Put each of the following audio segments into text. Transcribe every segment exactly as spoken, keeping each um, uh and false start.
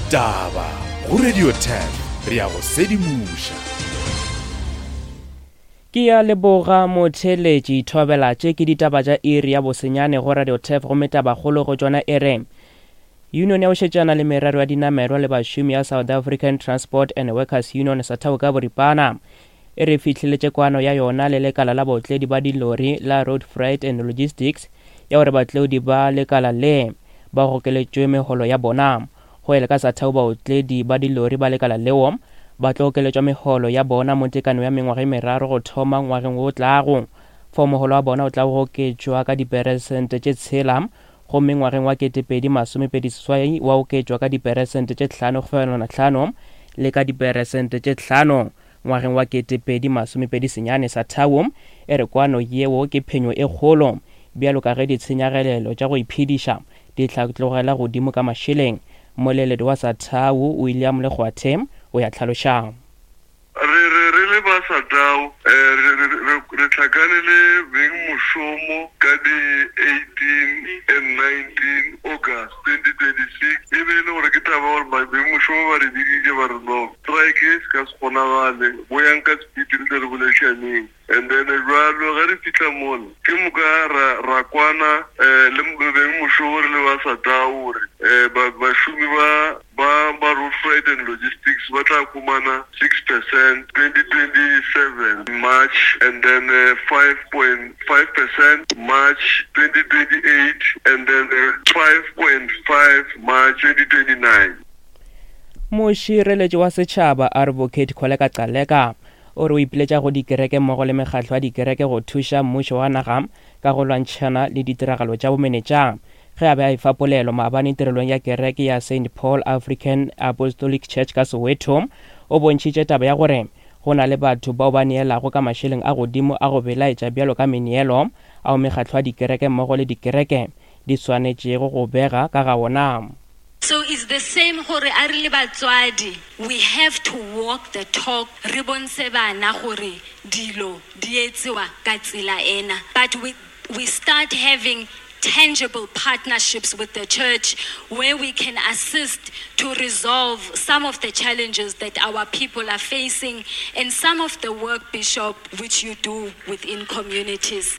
Ditaba go Radio ten re ya go sedimoša. Ke ya leboga motheletši thobela tše ke ditaba tša iri ya bosenyane go Radio T E F gomme tabakgolo go tšona e re Union ya go šetšana le merero ya dinamelwa le bašomi ya South African Transport and Workers Union SATAWU ka boripana e re fihleletše kwano ya yona le lekala la baotledi ba dilori la Road Freight and Logistics ya gore baotledi ba lekala le ba gokeletšwe megolo ya bona. Go ele ka SATAWU baotledi ba dilori ba lekala leo ba tlo okeletšwa megolo ya bona mo tekano ya mengwaga e meraro go thoma ngwageng o tlago. Fao mogolo wa bona o tla go oketšwa ka diperesente tše tshela gomme ngwageng wa ketepedi masomepedi seswai wa oketšwa ka diperesente tše hlano fegelwana hlano le ka diperesente tše hlano ngwageng wa ketepedi masomepedi senyane. SATAWU e re kwano yeo ke phenyo e kgolo bjalo ka ge ditshenyagalelo tša go iphediša di hlatlogela godimo ka mašeleng. Moleledi wa SATAWU William Lekgwathe o ya tlhalošang. Re re re le ba SATAWU re re re tlhakane le beng mošomo ka di eighteen and nineteen August twenty twenty-six e be le gore ke taba gore beng mošomo ba re biditše ba re no strike se ka se kgonagale boyang ka speed re tle re boledišaneng. And then jwalo ge re fihla mola ke moka ra ra kwana le beng mošomo re le ba SATAWU gore bašomi ba ba ba Road Freight and Logistics ba tla fumana six percent twenty twenty-seven March and then five point five percent March twenty twenty-eight and then five point five March twenty twenty-nine. Mošireletši wa setšhaba Advocate Kholeka Gcaleka o re o ipiletša go dikereke mmogo le mekgatlo ya dikereke go thuša mmušo wa naga ka go lwantšhana le ditiragalo tša bomenetša. Ge a be a efa polelo maabane tirelong ya kereke ya Saint Paul African Apostolic Church ka Soweto, o bontšhitše taba ya gore go na le batho bao ba neelago ka mašeleng a godimo a go belaetša bjalo ka meneelo ao mekgatlo ya dikereke mmogo le dikereke di swanetšego go bega ka ga ona. So it's the same gore a re le batswadi, we have to walk the talk, re bontshe bana gore dilo di etsewa ka tsela ena. But we, we start having tangible partnerships with the church where we can assist to resolve some of the challenges that our people are facing and some of the work, Bishop, which you do within communities.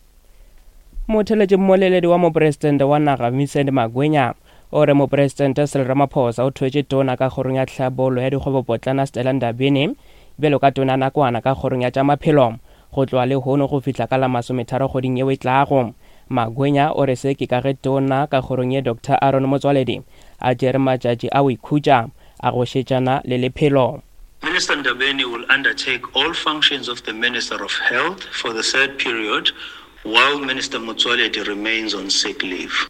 Motheletši mmoleledi wa mopresidente wa naga Vincent Magwenya o re mopresidente Cyril Ramaphosa o thwetše tona ka kgorong ya tlhabollo ya dikgwebopotlana Stella Ndabeni bjalo ka tona nakwana ka kgorong ya tša maphelo go tloga lehono go fihla ka la masometharo kgweding yeo e tlago. Magwenya o re se ke ka ge tona ka kgorong ye Doctor Aaron Motsoaledi a tšere matšatši a go ikhutša a go šetšana le lephelo. Minister Ndabeni will undertake all functions of the Minister of Health for the third period while Minister Motsoaledi remains on sick leave.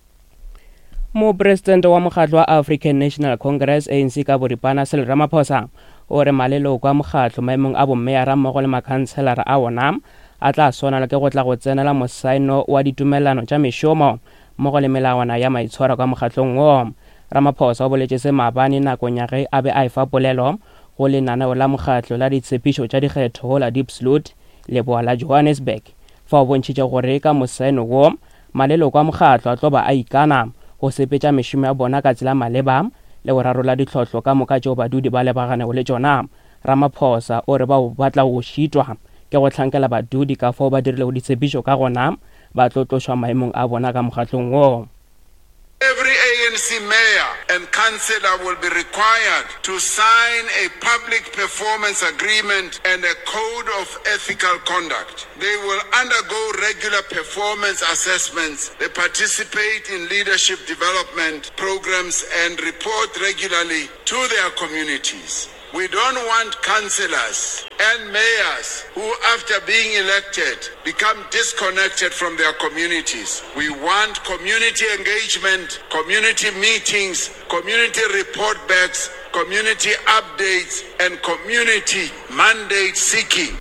Mopresidente wa mokgatlo wa African National Congress A N C ka boripana Cyril Ramaphosa o re maleloko a mokgatlo maemong a bommeyara mmogo le makhanselara a ona a tla swanelwa ke go tla go tsenela mosaeno wa ditumelelano tša mešomo mmogo le melawana ya maitshwaro ka mokgatlong wo. Ramaphosa o boletše se maabane nakong ya ge a be a efa polelo go lenaneo la mokgatlo la ditshepišo tša dikgetho go la Diepsloot leboa la Johannesburg. Fa o bontšhitše gore ka mosaeno wo maleloko a mokgatlo a tlo ba a ikana go sepetša mešomo ya bona ka tsela maleba le go rarolla ditlhohlo ka moka tšeo badudi ba lebaganego le tšona. Ramaphosa o re bao ba tla go šitwa ke go hlankela badudi ka fao ba dirilego ditshepišo ka gona ba tlo tlošwa maemong a bona ka mokgatlong wo. Every A N C mayor and councillor will be required to sign a public performance agreement and a code of ethical conduct. They will undergo regular performance assessments. They participate in leadership development programs and report regularly to their communities. We don't want councillors and mayors who, after being elected, become disconnected from their communities. We want community engagement, community meetings, community report backs, community updates, and community mandate seeking.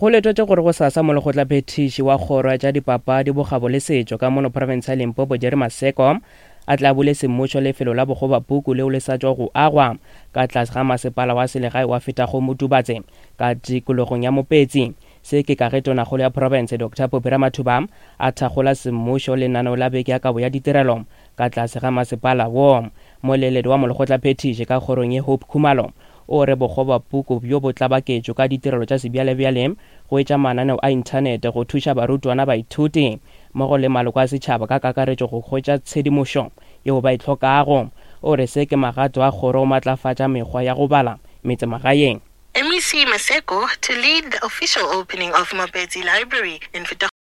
Go letwetše gore go sasa molekgotlaphethiši wa kgoro ya tša dipapadi bokgabo le setšo ka mono province ya Limpopo Jerry Maseko a tla bule semmušo lefelo la bokgobapuku leo le sa tšwa go agwa ka tlase ga masepala wa selegae wa Fetago Motubatse ka tikologong ya Mopetsi. Se ke ka ge tonakgolo ya province Doctor Phophi Ramathuba a thakgola semmušo lenaneo la beke ya kabo ya ditirelo ka tlase ga masepala wo. Moleledi wa molekgotlaphethiši ka kgorong ye Hope Khumalo o re bokgobapuku bjo bo tlabaketšwe ka ditirelo tša sebjalebjale go etša mananeo a inthanete go thuša barutwana, baithuti mmogo le maloko a setšhaba ka kakaretšo go hwetša tshedimošo yeo ba e hlokago. O re se ke magato a kgoro go matlafatša mekgwa ya go bala metsemagaeng. M E C Maseko to lead the official opening of Mapetsi Library in